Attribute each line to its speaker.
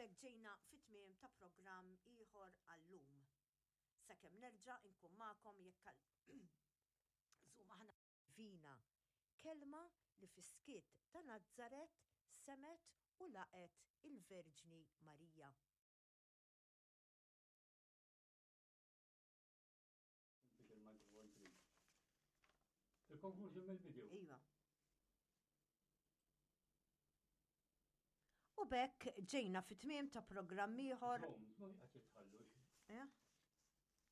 Speaker 1: b'hekk ġejna fit-tmiem ta' programm ieħor għal-lum. Sakemm nerġa' nkun magħkom jekk Żum aħna Vina, kelma li fis-skiet ta' Nazaret semgħet u laqgħet il-Verġni Marija.
Speaker 2: Il-conclusion mill-video.
Speaker 1: Iva. U b'hekk ġejna fit-tmiem ta' programm ieħor.
Speaker 2: Ma jqgħod jitħallu.
Speaker 1: Eh?